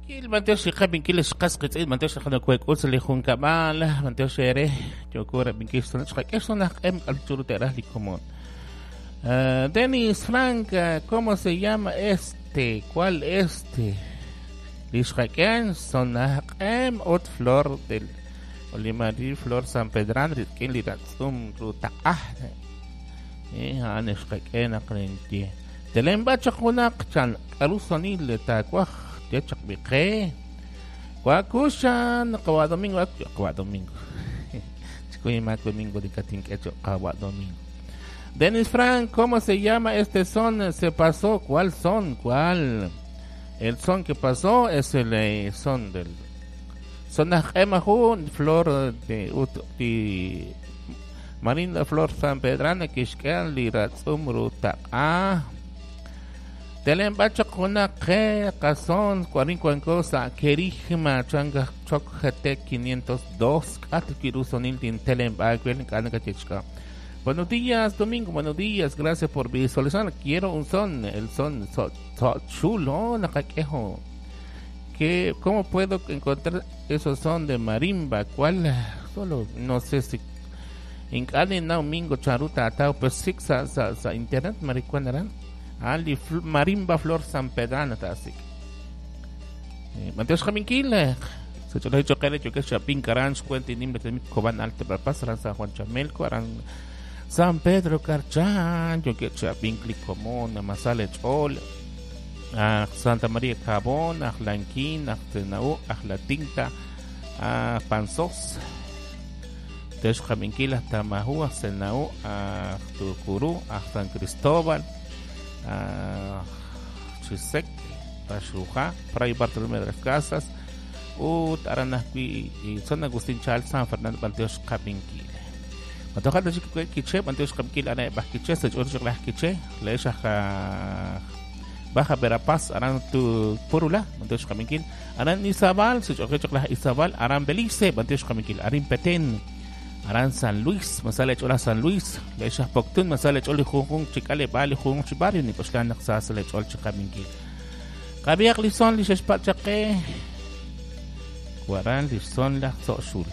Kil b'antiox li qab'inkil li xqas qitz'in b'antiox li qanakuek'ul sa' li junkab'al b'antiox eere yooko rab'inkil xsona xqak'e xsona q'em k'al churu te'raj li komon. Denis Frank, ¿cómo se llama este? ¿Cuál este? Li xqak'e xsona q'em ut flor del Olimari Flor San Pedran rik'in li ratz'um ru taq'aj. A'an xqak'e naq ninye. Telenb'a chaq junaq chan k'aru sonil taawaj ye chaq b'i qe. Wakuxan qawa domingo qawa domingo. Chikuy mak domingo di katink'e choq qawa domingo. Denis Frank, ¿cómo se llama este son? Se pasó, ¿cuál son? ¿Cuál? El son que pasó es el son del son jun flor de ut di Marinda Flor San Pedrana kixk'an li ratz'um rutaq'a. Telen bachaq junaq qe qason cuarin cuancosa kerigma changa chok GT 502 k'at kirusonil tin telen b'akwel k'ana kachechka. Buenos días, Domingo, buenos días, gracias por visualizar. Quiero un son, el son so, so chulo, nakaquejo. ¿Qué, ¿Cómo puedo encontrar esos son de marimba? ¿Cuál? Solo no sé si Ink'ani na domingo charuta atao pues sik sa sa sa internet maricuanaran. Ali marimba flor San Pedrana ta asik. Manteos jaminkil. Se cholo hecho que yo que chapin karan cuenta nimbre de Coban Alto Verapaz, aran San Juan Chamelco, aran San Pedro Carchan, yo que chapin Clicomón, Masale Chol, a Santa María Cabón, a Lanquín, a Tenau, a La Tinta, a Panzós. Tex Jaminkil, a Tamajú, a Senau, a Tucurú, a San Cristóbal, a Chisec, Paxuja, Fray Bartolomé de las Casas, ut Aranajpi y San Agustín Chal, San Fernando Banteos Jaminkil. Matoja de chico quiche, Banteos Jaminkil, Ana Bajquiche, se chor Quiche, le Baja Verapaz, Aran tu Purula, Banteos Jaminkil, Aran Izabal, se chor Izabal, Aran Belice, Banteos Jaminkil, Arin Petén, Aran San Luis, Masale Chola San Luis, le Poctun, Masale Choli Junjun, Chicale Bali, Jun Chibario, ni Poxlan, Sasale Chol Chicaminkil. Kabiak Lison, Lishespachaqe, Guaran Lison, La Soxul.